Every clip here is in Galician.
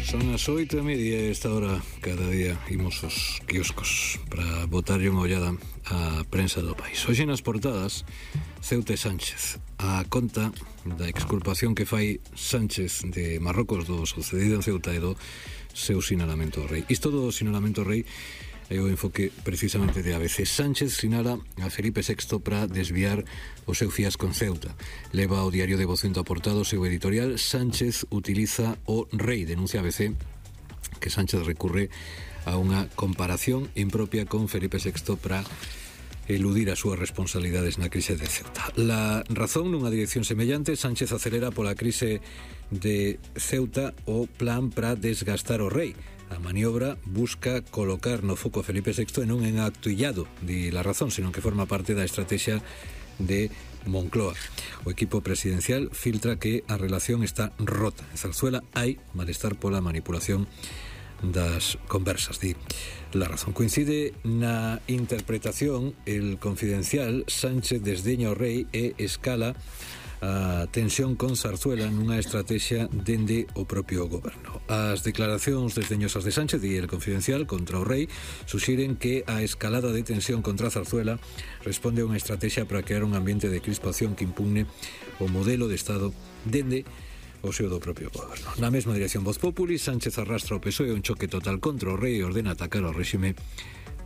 Son as 8:30 esta hora. Cada día imos aos quioscos para botarlle unha ollada á prensa do país. Hoxe nas portadas, Ceuta e Sánchez, a conta da exculpación que fai Sánchez de Marrocos do sucedido en Ceuta e do seu sinalamento ao rei. Isto do sinalamento ao rei é o enfoque precisamente de ABC. Sánchez sinala a Felipe VI para desviar o seu fiasco en Ceuta. Leva ao diario de Vocento aportado o seu editorial. Sánchez utiliza o rei, denuncia ABC que Sánchez recurre a unha comparación impropia con Felipe VI para eludir as súas responsabilidades na crise de Ceuta. La razón, nunha dirección semellante, Sánchez acelera pola crise de Ceuta o plan para desgastar o rei. A maniobra busca colocar no foco a Felipe VI e non en acto illado, di La Razón, senón que forma parte da estrategia de Moncloa. O equipo presidencial filtra que a relación está rota. En Zarzuela hai malestar pola manipulación das conversas, di La Razón. Coincide na interpretación El Confidencial. Sánchez desdeña o rei e escala a tensión con Zarzuela nunha estrategia dende o propio goberno. As declaracións desdeñosas de Sánchez e El Confidencial contra o rei suxiren que a escalada de tensión contra Zarzuela responde a unha estrategia para crear un ambiente de crispación que impugne o modelo de Estado dende o seu do propio goberno. Na mesma dirección Voz Populi, Sánchez arrastra o PSOE un choque total contra o rei e ordena atacar ao réxime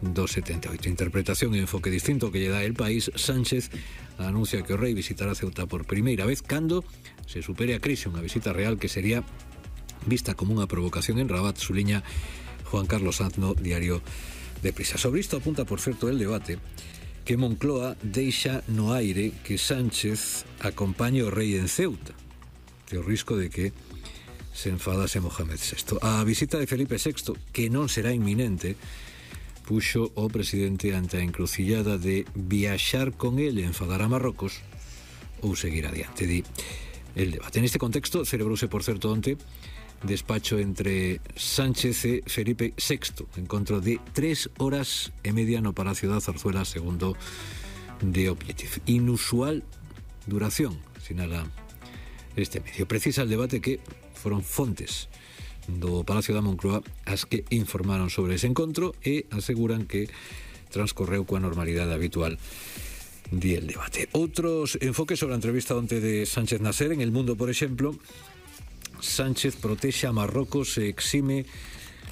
do 78. Interpretación e enfoque distinto que lle dá El País. Sánchez anuncia que o rei visitará Ceuta por primeira vez cando se supere a crise, unha visita real que sería vista como unha provocación en Rabat, suliña Juan Carlos Sanz no diario de Prisa. Sobre isto apunta, por certo, el debate que Moncloa deixa no aire que Sánchez acompañe o rei en Ceuta, que o risco de que se enfadase Mohamed VI. A visita de Felipe VI, que non será inminente, puxo o presidente ante a encrucillada de viaxar con ele e enfadar a Marrocos ou seguir adiante, di el debate. Neste contexto, celebrouse, por certo, onte despacho entre Sánchez e Felipe VI, encontro de 3 horas e media no Palacio da Zarzuela, segundo The Objective. Inusual duración, sinala este medio. Precisa el debate que foron fontes do Palacio da Moncloa as que informaron sobre ese encontro e aseguran que transcorreu coa normalidade habitual, di el debate. Outros enfoques sobre a entrevista onte de Sánchez Nasser en El Mundo, por exemplo. Sánchez protexe a Marrocos e exime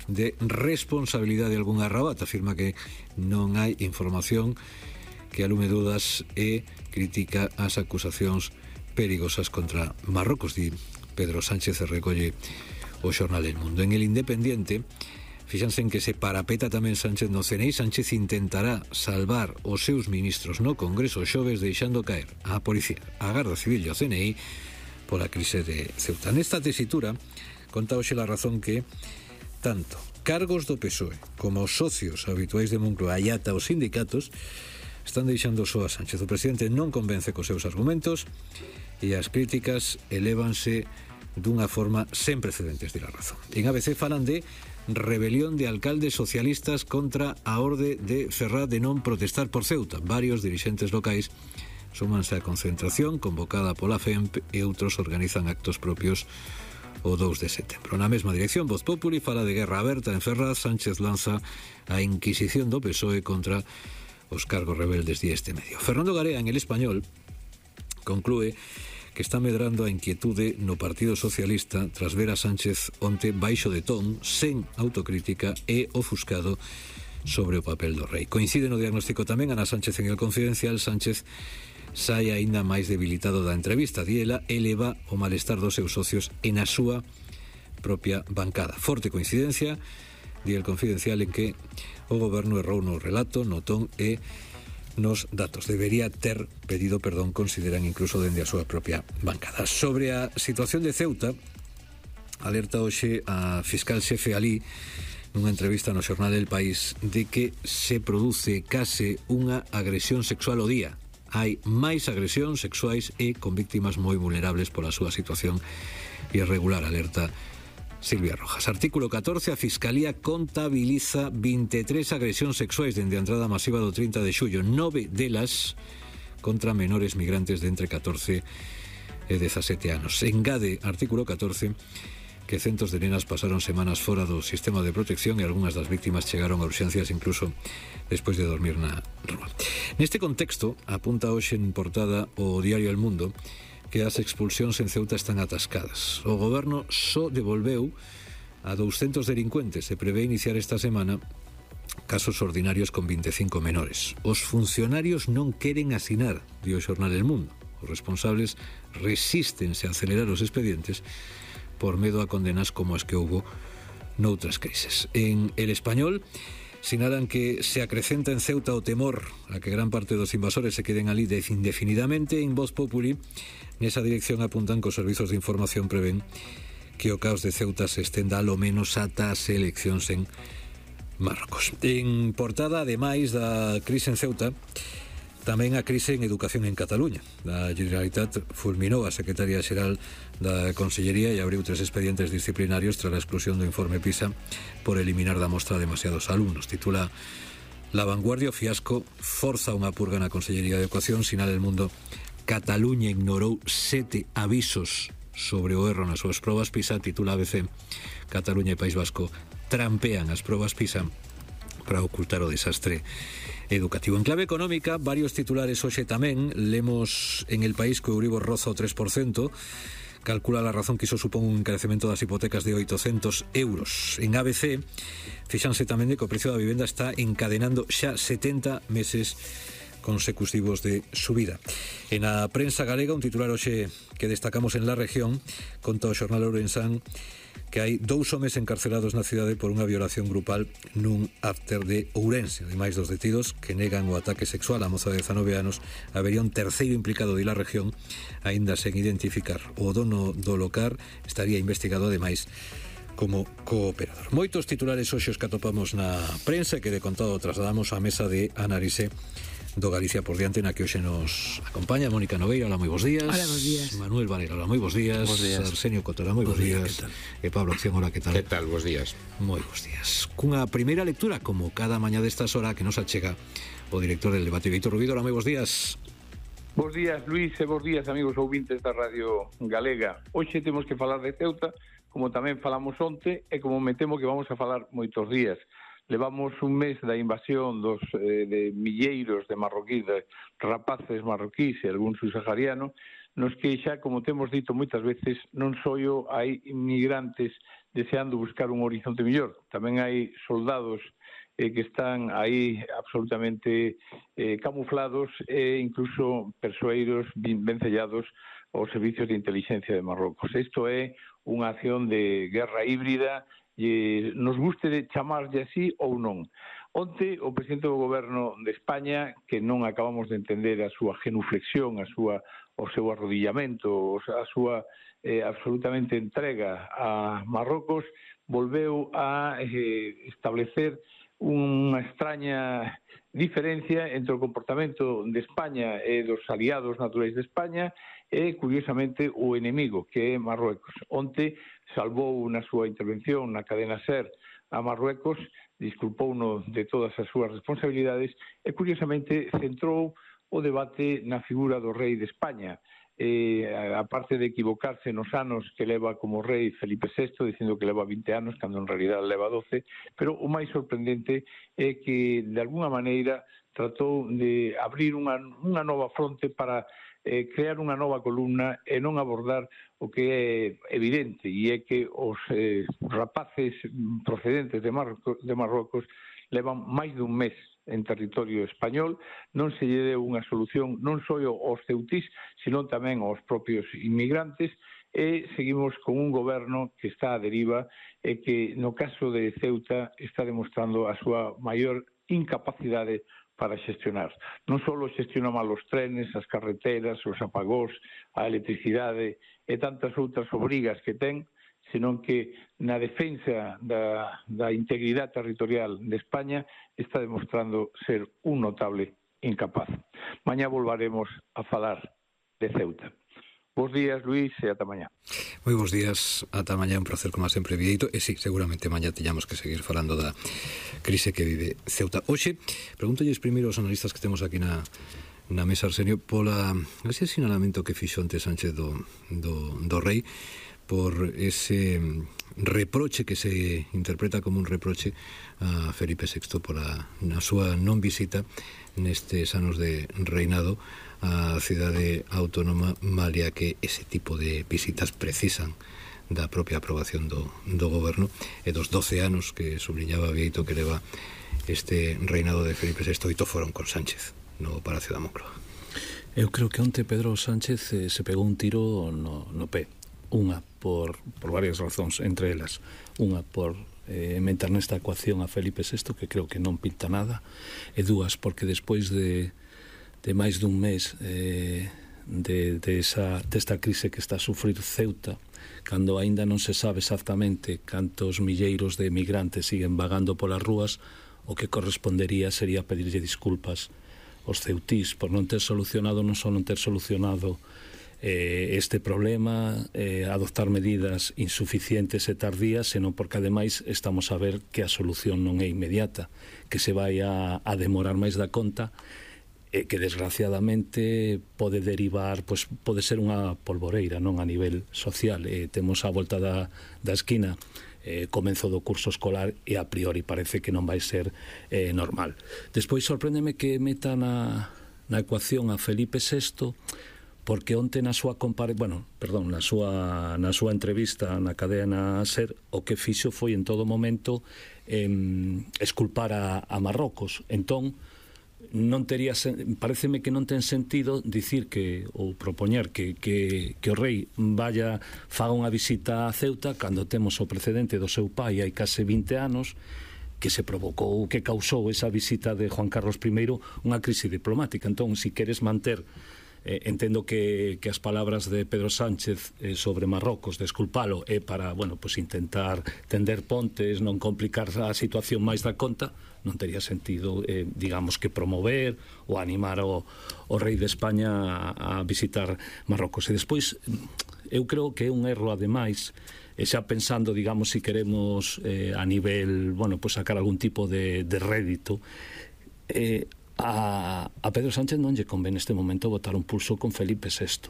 de responsabilidade algunha Rabat. Afirma que non hai información que alume dudas e critica as acusacións perigosas contra Marrocos, di Pedro Sánchez, e recolle o xornal El Mundo. En El Independiente, fíxanse en que se parapeta tamén Sánchez no CNI. Sánchez intentará salvar os seus ministros no Congreso xoves deixando caer a Policía, a Garda Civil e o CNI pola crise de Ceuta. Nesta tesitura, conta hoxe La Razón que tanto cargos do PSOE como os socios habituais de Moncloa e ata os sindicatos están deixando só a Sánchez. O presidente non convence cos seus argumentos e as críticas elévanse dunha forma sen precedentes, de La Razón. En ABC falan de rebelión de alcaldes socialistas contra a orde de Ferraz de non protestar por Ceuta. Varios dirixentes locais súmanse á concentración convocada pola FEMP e outros organizan actos propios o 2 de setembro. Na mesma dirección, Voz Populi fala de guerra aberta en Ferraz. Sánchez lanza a inquisición do PSOE contra os cargos rebeldes, di este medio. Fernando Garea, en El Español, conclúe que está medrando a inquietude no Partido Socialista tras ver a Sánchez onte baixo de ton, sen autocrítica e ofuscado sobre o papel do rei. Coincide no diagnóstico tamén Ana Sánchez en El Confidencial. Sánchez sai aínda máis debilitado da entrevista, di ela, eleva o malestar dos seus socios e na súa propia bancada. Forte coincidencia, di El Confidencial, en que o goberno errou no relato, no ton e nos datos. Debería ter pedido perdón, consideran incluso dende a súa propia bancada. Sobre a situación de Ceuta, alerta hoxe a fiscal xefe Alí nunha entrevista no xornal El País de que se produce case unha agresión sexual ao día. Hai máis agresións sexuais e con víctimas moi vulnerables pola súa situación irregular, alerta Silvia Rojas. Artículo 14. A Fiscalía contabiliza 23 agresións sexuais dende a entrada masiva do 30 de xullo, 9 delas contra menores migrantes de entre 14 e 17 anos. Engade, artículo 14, que centos de nenas pasaron semanas fora do sistema de protección e algunhas das víctimas chegaron a urxencias incluso despois de dormir na rúa. Neste contexto, apunta hoxe en portada o diario El Mundo que as expulsións en Ceuta están atascadas. O goberno só devolveu a 200 delincuentes. Se prevé iniciar esta semana casos ordinarios con 25 menores. Os funcionarios non queren asinar, di o xornal El Mundo. Os responsables resístense a acelerar os expedientes por medo a condenas como as que houbo noutras crises. En El Español sinalan que se acrecenta en Ceuta o temor a que gran parte dos invasores se queden ali indefinidamente. En Voz Populi, nesa dirección apuntan que os servizos de información prevén que o caos de Ceuta se estenda alo menos ata as eleccións en Marrocos. En portada, ademais da crise en Ceuta, tamén a crise en educación en Cataluña. A Generalitat fulminou a Secretaría Xeral da Consellería e abriu 3 expedientes disciplinarios tras a exclusión do informe PISA por eliminar da mostra demasiados alumnos. Titula La Vanguardia: o fiasco forza unha purga na Consellería de Educación. Sinala El Mundo: Cataluña ignorou 7 avisos sobre o erro nas súas probas PISA. Titula ABC: Cataluña e País Vasco trampean as probas PISA para ocultar o desastre educativo. En clave económica, varios titulares hoxe tamén. Lemos en El País que o Euribor roza o 3%. Calcula la razón que iso supón un encarecemento das hipotecas de 800 euros. En ABC, fíxanse tamén de que o precio da vivenda está encadenando xa 70 meses consecutivos de subida. En a prensa galega, un titular hoxe que destacamos en La Región, conta o xornal ourensán que hai 2 homes encarcelados na cidade por unha violación grupal nun after de Ourense. Ademais dos detidos que negan o ataque sexual á moza de 19 anos, habería un terceiro implicado de La Región aínda sen identificar. O dono do local estaría investigado ademais como cooperador. Moitos titulares hoxe os que atopamos na prensa que de contado trasladamos á mesa de análise do Galicia por diante, na que hoxe nos acompaña Mónica Nogueira. Hola, moi bons días. Hola, bons días. Manuel Varela, hola, moi bons días. Arsenio Cotora, moi bons días. E Pablo Acción, hola, que tal? Que tal, bons días. Moi bons días. Cunha primeira lectura, como cada mañá destas horas, que nos achega o director del debate, Víctor Rubido. Hola, moi bons días. Bos días, Luís, e bos días, amigos ouvintes da Radio Galega. Hoxe temos que falar de Ceuta, como tamén falamos onte, e como me temo que vamos a falar moitos días. Levamos un mes da invasión de milleiros de marroquíes, de rapaces marroquíes e algún subsahariano, nos que xa, como temos dito moitas veces, non só hai inmigrantes deseando buscar un horizonte mellor, tamén hai soldados que están aí absolutamente camuflados e incluso persoeiros vencellados aos servicios de inteligencia de Marrocos. Isto é unha acción de guerra híbrida, e nos guste de chamarlle así ou non. Onte, o presidente do goberno de España, que non acabamos de entender a súa genuflexión, o seu arrodillamento, a súa absolutamente entrega a Marrocos, volveu a establecer unha extraña diferencia entre o comportamento de España e dos aliados naturais de España e, curiosamente, o enemigo, que é Marruecos. Onte salvou na súa intervención na cadena SER a Marruecos, disculpouno de todas as súas responsabilidades e, curiosamente, centrou o debate na figura do rei de España. Aparte de equivocarse nos anos que leva como rei Felipe VI, dicindo que leva 20 anos, cando en realidad leva 12, pero o máis sorprendente é que, de alguna maneira, tratou de abrir unha nova fronte para crear unha nova columna e non abordar o que é evidente, e é que os rapaces procedentes de Marrocos levan máis dun mes en territorio español, non se lle deu unha solución non só aos ceutís, sino tamén aos propios inmigrantes, e seguimos con un goberno que está a deriva e que no caso de Ceuta está demostrando a súa maior incapacidade para xestionar. Non só xestiona mal os trenes, as carreteras, os apagóns, a electricidade e tantas outras obrigas que ten, senón que na defensa da integridade territorial de España está demostrando ser un notable incapaz. Mañá volvaremos a falar de Ceuta. Bos días, Luís, e ata mañá. Moi bons días, ata mañá, un placer como sempre, Vieito. E sí, seguramente mañá teñamos que seguir falando da crise que vive Ceuta. Hoxe, pregúntolles primeiro aos analistas que temos aquí na mesa, Arsenio, pola ese sinalamento que fixo ante Sánchez do rei, por ese reproche que se interpreta como un reproche a Felipe VI na súa non visita nestes anos de reinado a cidade autónoma, malia que ese tipo de visitas precisan da propia aprobación do goberno e dos 12 anos que subliñaba Bieito que leva este reinado de Felipe VI. 8 foron con Sánchez no Palacio da Moncloa. Eu creo que onte Pedro Sánchez se pegou un tiro no pé. Unha por varias razóns, entre elas unha por meter nesta ecuación a Felipe VI, que creo que non pinta nada, e dúas porque despois de máis dun mes desta crise que está a sufrir Ceuta, cando aínda non se sabe exactamente cantos milleiros de migrantes siguen vagando polas rúas, o que correspondería sería pedirlle disculpas aos ceutís por non ter solucionado, non só non ter solucionado este problema, adoptar medidas insuficientes e tardías, senón porque ademais estamos a ver que a solución non é inmediata, que se vai a demorar máis da conta, que desgraciadamente pode derivar, pois pode ser unha polvoreira, non, a nivel social. Temos a volta da esquina comenzo do curso escolar e a priori parece que non vai ser normal. Despois sorpréndeme que meta na ecuación a Felipe VI, porque onte na súa na súa entrevista na cadena SER, o que fixo foi en todo momento esculpar a Marrocos. Entón, pareceme que non ten sentido dicir que, ou propoñer que o rei faga unha visita a Ceuta cando temos o precedente do seu pai hai case 20 anos que se provocou, que causou esa visita de Juan Carlos I unha crise diplomática. Entón, se queres manter entendo que as palabras de Pedro Sánchez sobre Marrocos, de esculpalo, é para, pues intentar tender pontes, non complicar a situación máis da conta, non tería sentido, digamos, que promover ou animar o rei de España a visitar Marrocos. E despois, eu creo que é un erro, ademais, xa pensando, digamos, se queremos a nivel, pues sacar algún tipo de rédito, a Pedro Sánchez non lle convén neste momento botar un pulso con Felipe VI.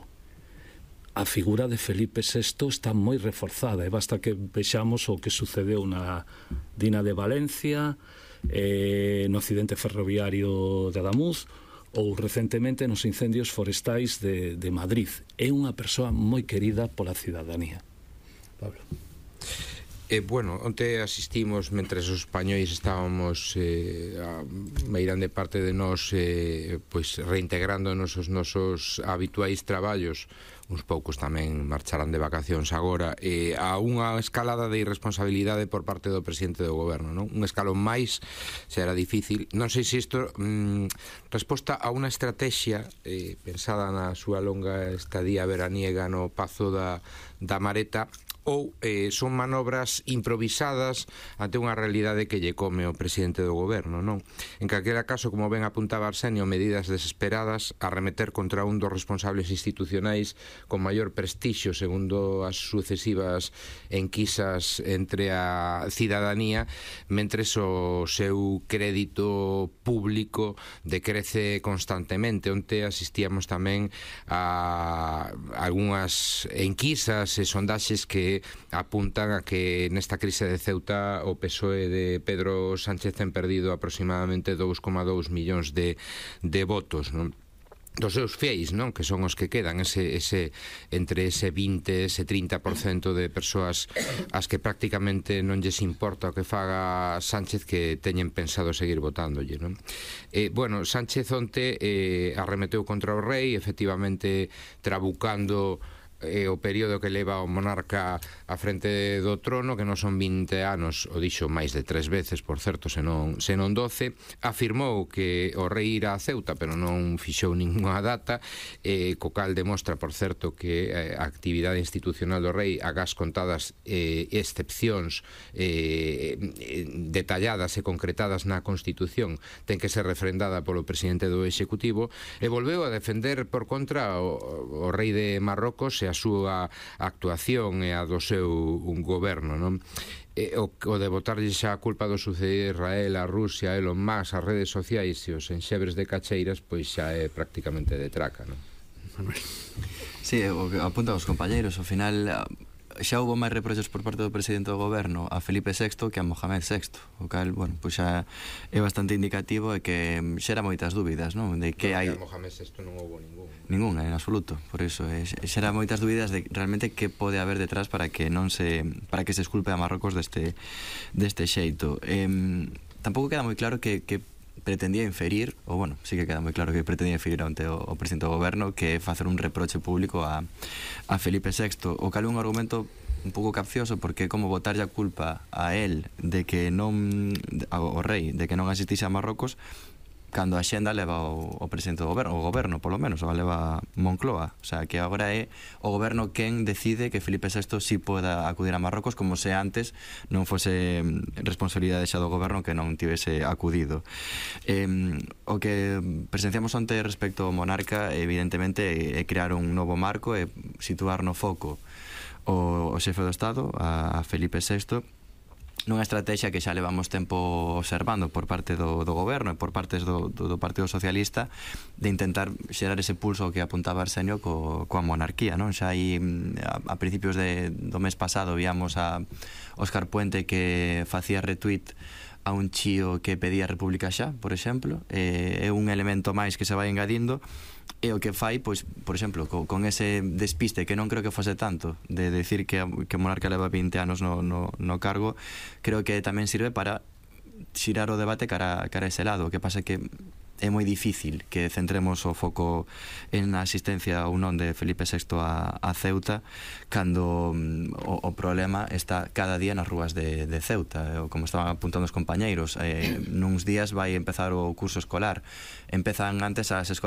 A figura de Felipe VI está moi reforzada e basta que vexamos o que sucedeu na Dina de Valencia, no accidente ferroviario de Adamuz ou recentemente nos incendios forestais de Madrid. É unha persoa moi querida pola cidadanía. Pablo. Onte asistimos, mentres os españois estábamos a meirande parte de nós reintegrándonos os nosos habituais traballos, uns poucos tamén marcharán de vacacións agora, a unha escalada de irresponsabilidade por parte do presidente do goberno, non? Un escalón máis será difícil. Non sei se isto resposta a unha estrategia pensada na súa longa estadía veraniega no Pazo da Mareta, ou son manobras improvisadas ante unha realidade que lle come o presidente do goberno, non? En calquera caso, como ben apuntaba Arsenio, medidas desesperadas a remeter contra un dos responsables institucionais con maior prestixio segundo as sucesivas enquisas entre a cidadanía, mentres o seu crédito público decrece constantemente. Onte asistíamos tamén a algunhas enquisas e sondaxes que apuntan a que nesta crise de Ceuta o PSOE de Pedro Sánchez ten perdido aproximadamente 2,2 millóns de votos, non? Dos seus fiéis, non? Que son os que quedan, entre ese 20 e ese 30% de persoas as que prácticamente non lles importa o que faga Sánchez, que teñen pensado seguir votándolle, non? Sánchez onte arremeteu contra o rei, efectivamente trabucando o período que leva o monarca a frente do trono, que non son 20 anos, o dixo máis de 3 veces, por certo, senón 12, afirmou que o rei irá a Ceuta, pero non fixou ninguna data, co cal demostra, por certo, que a actividade institucional do rei, agás contadas excepcións detalladas e concretadas na Constitución, ten que ser refrendada polo presidente do Executivo, e volveu a defender por contra o rei de Marrocos e a súa actuación e a do seu goberno, non? O de botarlle xa a culpa do sucedido a Israel, a Rusia, a Elon Musk, as redes sociais e os enxebres de cacheiras, pois xa é prácticamente de traca, non? Sí, o que apuntan os compañeiros, ao final xa houve máis reproches por parte do presidente do goberno a Felipe VI que a Mohamed VI, o cal, bueno, pois xa é bastante indicativo e que xera moitas dúbidas, non? De que hai... A Mohamed VI non houve ninguna, en absoluto. Por iso xera moitas dúbidas de realmente que pode haber detrás para que se esculpe a Marrocos deste xeito. Tampouco queda moi claro que pretendía inferir, ou bueno, sí que queda moi claro que pretendía inferir ante o presidente do goberno, que é facer un reproche público a Felipe VI, o cal é un argumento un pouco capcioso, porque como botarlle a culpa a él de que non, ao rei, de que non asistise a Marrocos, cando a xenda leva o presidente do goberno, o goberno polo menos, o leva Moncloa, o sea, que agora é o goberno quen decide que Felipe VI sí poda acudir a Marrocos, como se antes non fose responsabilidade xa do goberno que non tivese acudido. O que presenciamos onte respecto ao monarca, evidentemente, é crear un novo marco e situar no foco o xefe do Estado, a Felipe VI, nunha estrategia que xa levamos tempo observando por parte do goberno e por partes do Partido Socialista, de intentar xerar ese pulso que apuntaba Arsenio coa monarquía, non? Xa aí a principios do mes pasado víamos a Óscar Puente que facía retweet a un chío que pedía República xa, por exemplo. É un elemento máis que se vai engadindo, e o que fai, pois, por exemplo, con ese despiste que non creo que fose tanto de decir que o monarca leva 20 anos no cargo, creo que tamén sirve para xirar o debate cara a ese lado. O que pasa que é moi difícil que centremos o foco en a asistencia ou non de Felipe VI a Ceuta, cando o problema está cada día nas rúas de Ceuta. Como estaban apuntando os compañeiros, nuns días vai empezar o curso escolar. Empezan antes as escolas